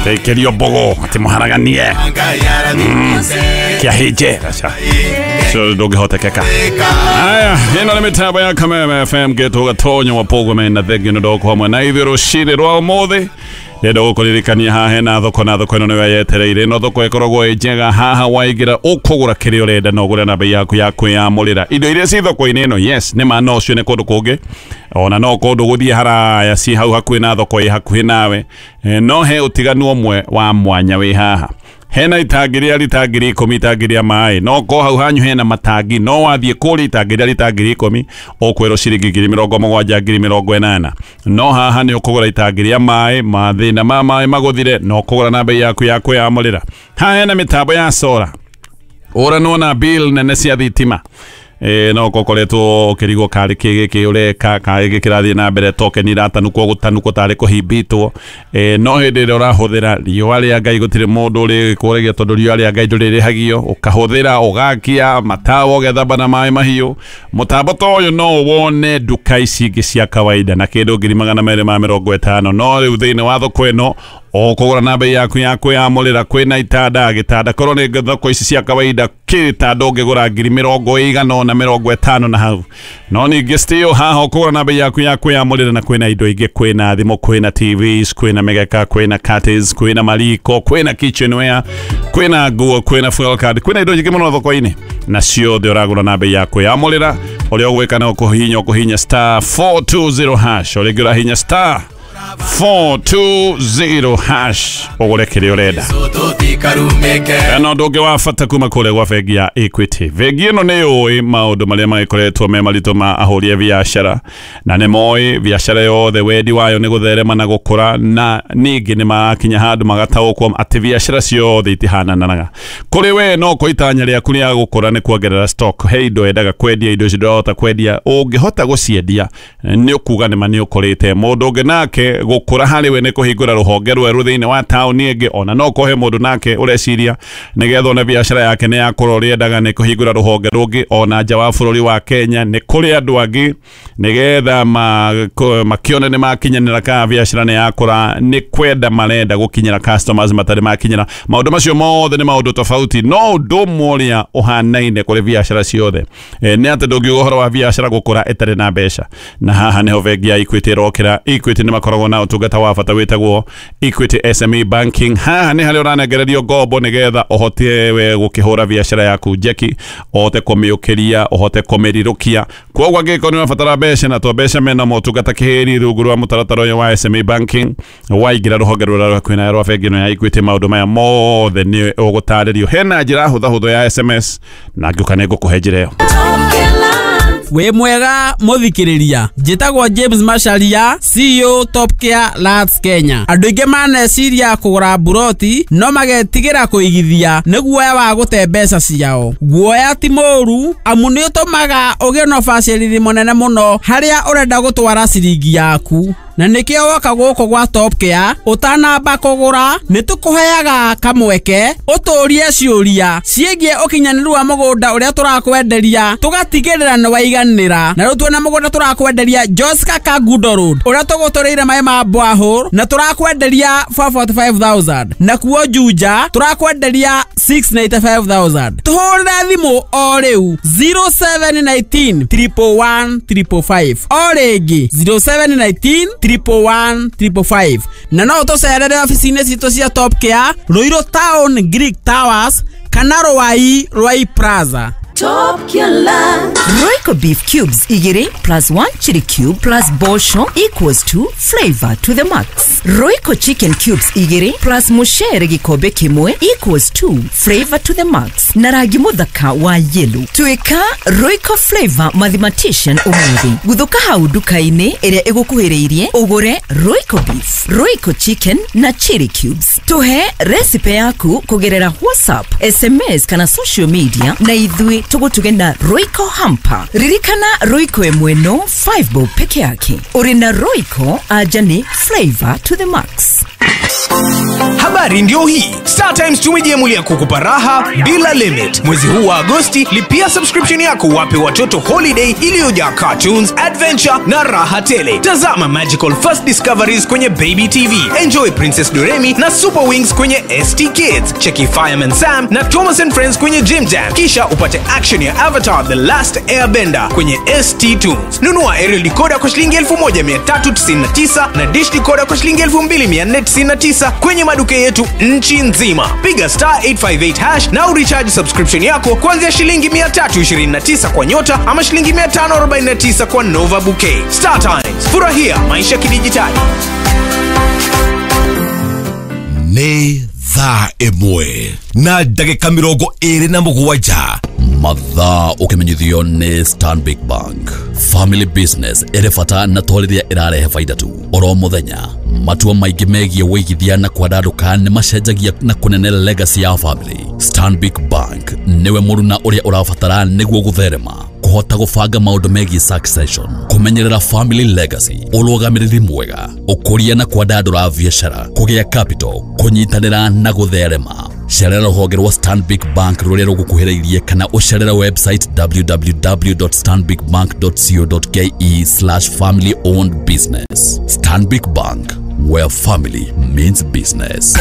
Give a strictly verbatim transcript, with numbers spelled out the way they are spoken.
Tekerio mbogo atĩ mũharaganie kĩahĩnje aca cio ndũngĩhotekeka. Aya, ĩno nĩ mĩtambo ya Kameme F M getwo Gatonyo wa Pogome na thengio nĩ ndoko hamwe na ithuĩ rũcinĩ rwa ũmũthĩ. Ndĩrenda gũkũririkania haha hena thoko na thoko ĩno nĩyo yetereire. Ĩno thoko ĩkoragwo ĩ njega, haha waingĩra ũkũgũra kĩrĩa ũrenda na ũgũre na bei yaku ya kwĩyamũrĩra. Indo iria ci thoko-inĩ ĩno, yes, nĩ ma no cione kũndũ kũngĩ, ona no kũndũ gũthiĩ haraya ci hau hakuhĩ na thoko ĩ hakuhĩ nawe, no he ũtiganu ũmwe wa mwanya wĩ haha. Hena itangi rĩa rita ngiri ikũmi, itangi rĩa maĩ, no ko hau hanyu hena matangi, no wathiĩ kũrĩa itangi rĩa rita ngiri ikũmi ũkwĩrwo ciringi ngiri mĩrongo mũgwanja, ngiri mĩrongo ĩnana. No haha nĩ ũkũgũra itangi rĩa maĩ, mathĩna ma maĩ magũthire, no ũkũgũra na bei yaku ya kwĩyamũrĩra. Haha hena mĩtambo ya solar, ũranwo na bill nene cia thitima. E, no kokoretwo ũkĩrigwo karĩ kĩ gĩkĩ ũreka, karĩ gĩkĩ kĩrathiĩ na mbere, token iratanukwo gũtanukwo tarĩ kũhimbĩtwo. E, no hĩndĩ ĩrĩa ũrahũthĩra riũa rĩa Ngai gũtirĩ mũndũ ũrĩkũragia tondũ riũa rĩa Ngai ndũrĩrĩhagio, ũkahũthĩra ũgakia matawa ũgethamba na maĩ mahiũ. Mũtambo ta ũyũ no wone nduka ici ingĩ cia kawaida na kĩndũ ngiri magana merĩ ma mĩrongo ĩtano, no rĩu thĩinĩ wa thoko ĩno ũkũgũra na bei yaku ya kwĩyamũrĩra. Kwĩna itanda, gĩtanda korwo nĩ thoko ici cia kawaida kĩtanda ũngĩgũra ngiri mĩrongo ĩigana ũna mĩrongo ĩtano na hau, no ningĩ still haha ũkũgũra na bei yaku ya kwĩyamũrĩra. Na kwĩna indo ingĩ, kwĩna thimũ, kwĩna T Vs, kwĩna mĩgeka, kwĩna curtains, kwĩna mariko, kwĩna kitchenware, kwĩna nguo, kwĩna fuel card, kwĩna indo nyingĩ mũno thoko-inĩ, na ciothe ũragũra na bei ya kwĩyamũrĩra. Ũrĩa ũgwĩka no kũhihinya ũkũhihinya star four two zero hash, ũrĩa ũngĩ ũrahihinya star four two zero hash ũgũre kĩrĩa ũrenda. Ena ũndũ ũngĩ wa bata kuma kũrĩa gwa bengi ya Equity. Bengi ĩno nĩ yũĩ maũndũ marĩa magĩkoretwo me maritũ ma ahũri a biacara, na nĩ moĩ biacara yothe wendi wayo nĩ gũtherema na gũkũra, na ningĩ nĩ marakinya handũ magataũkwo atĩ biacara ciothe itihananaga. Kũrĩ we no ko itanya rĩaku rĩa gũkũra nĩ kuongerera stock, he indo endaga kwendia, indo icio ndũrahota kwendia, ũngĩhota gũciendia nĩ ũkuga nĩ ma nĩ ũkũrĩte. Mũndũ ũngĩ nake gũkũra harĩ we nĩ kũhingũra rũhonge rwerũ thĩinĩ wa taũni ĩngĩ, ona no kũhe mũndũ nake ũreciria nĩgetha one biacara yake nĩ yakũra ũrĩa endaga nĩ kũhingũra rũhonge rũngĩ ona nja wa bũrũri wa Kenya. Nĩ kũrĩ andũ angĩ nĩgetha makĩone nĩ makinyanĩra kana biacara nĩ yakũra, nĩ kwenda marenda gũkinyĩra customers matarĩ makinyĩra. Maũndũ macio mothe nĩ maũndũ tofauti, no ũndũ ũmwe ũrĩa ũhanaine kũrĩ biacara ciothe nĩ atĩ ndũngiuga ũhoro wa biacara gũkũra ĩtarĩ na mbeca. Na haha nĩho bengi ya Equity ĩrokĩra. Equity nĩ makoragwo na ũtungata wa bata wĩtagwo Equity S M E Banking. Haha nĩ harĩa ũranengererio ngombo nĩgetha ũhote we gũkĩhũra biacara yaku njeki, ũhote kũmĩũkĩria, ũhote kũmĩrirũkia. Kwoguo angĩkorwo nĩ ũrabatara mbeca na to mbeca mena motungata kĩhĩri rungu rwa mũtaratara ũyũ wa S M E Banking, waingĩra rũhonge rũrĩa rwakuhĩ na rwa bengi ĩno ya Equity, maũndũ maya mothe nĩ ũgũtarĩrio. Hena njĩra hũthahũthũ ya S M S na ngĩũka nĩ ngũkũhe njĩra ĩyo. Wĩ mwega mũthikĩrĩria, njĩtagwo James Macharia, C E O Top Care Lands Kenya. Andũ aingĩ maneciria kũgũra mburoti no magetigĩra kũigithia nĩ guoya wa gũte mbeca ciao. Guoya ti mũũru amu nĩ ũtũmaga ũgĩe na ũbacĩrĩri mũnene mũno harĩa ũrenda gũtwara ciringi yaku. Na nĩkĩo woka gũkũ gwa Top Care ũtanamba kũgũra nĩ tũkũheaga kamweke ũtũrie ciũria ciĩgiĩ ũkinyanĩru wa mũgũnda ũrĩa tũrakwenderia, tũgatigĩrĩra nĩ waiganĩra. Na rĩu twĩna mũgũnda tũrakwenderia Joska Kangundo Road ũrĩa tũgũtũrĩire maĩ ma borehole na tũrakwenderia four forty five thousand, na kuo Juja tũrakwenderia six ninety five thousand. Tũhũrĩre thimũ o rĩu zero seven nineteen triple one triple five, o rĩngĩ zero seven nineteen triple one triple five. Na no ũtũcerere ofici-inĩ citũ cia Top Care Ruiru Town Greek Towers kana Ruai Ruai Plaza. Top Care Land. Royco beef cubes igiri plus one chili cube plus bosho equals to flavor to the max. Royco chicken cubes igiri plus mushere gikombe kimwe equals to flavor to the max. Na rangi muthaka wa yellow. Tuika Royco flavor mathematician umuthi. Guthuka hau nduka-inĩ ĩrĩa ĩgũkuhĩrĩirie ũgũre Royco beef, Royco chicken na chili cubes. Tuhe recipe yaku kũgerera WhatsApp, S M S kana social media na ithuĩ tugutuge na Royco hamper. Ririkana Royco ĩmwe no five bob peke yake. Uri na Royco aja ni flavor to the max. Habari Habari ndio hii. Star Times tumejiamulia kukupa raha bila limit. Mwezi huu wa Agosti, lipia subscription yako wape watoto holiday iliyojaa cartoons, adventure na raha tele. Tazama Magical First Discoveries kwenye Baby T V. Enjoy Princess Doremi na Super Wings kwenye S T Kids. Cheki Fireman Sam na Thomas and Friends kwenye Jim Jam. Kisha upate action ya Avatar The Last Airbender kwenye S T Tunes. Nunua aerial decoder kwa shilingi elfu moja mia tatu tisini na tisa na dish decoder kwa shilingi elfu mbili mia nne tisini na tisa kwenye maduka yetu nchi nzima. Piga star eight five eight hash na urecharge subscription yako kuanzia shilingi mia tatu ishirini na tisa kwa Nyota ama shilingi mia tano arobaini na tisa kwa Nova Bouquet. Star Times, furahia maisha kidijitali. Ni thaa ĩmwe na ndagĩka mĩrongo ĩrĩ na mũgwanja. Mathaa ũkĩmenyithio nĩ Stanbic Bank. Family business ĩrĩ bata na to rĩrĩa ĩrarehe baida tu. Oro mũthenya matua maingĩ megiĩ wĩigithia na kwandandũka nĩ macenjagia na kũnene legacy ya family. Stanbic Bank nĩwe mũruna ũrĩa ũrabatara nĩguo gũtherema, kũhota gũbanga maũndũ megiĩ succession, kũmenyerera family legacy, ũrũgamĩrĩri mwega, ũkũria na kwandandũra biacara, kũgĩa capital, kũnyitanĩra na gũtherema. Cerera rũhonge rwa Stanbic Bank rũrĩa rũgũkuhĩrĩirie kana ũcerere website w w w dot stanbic bank dot co dot k e slash family owned business. Stanbic Bank, where family means business.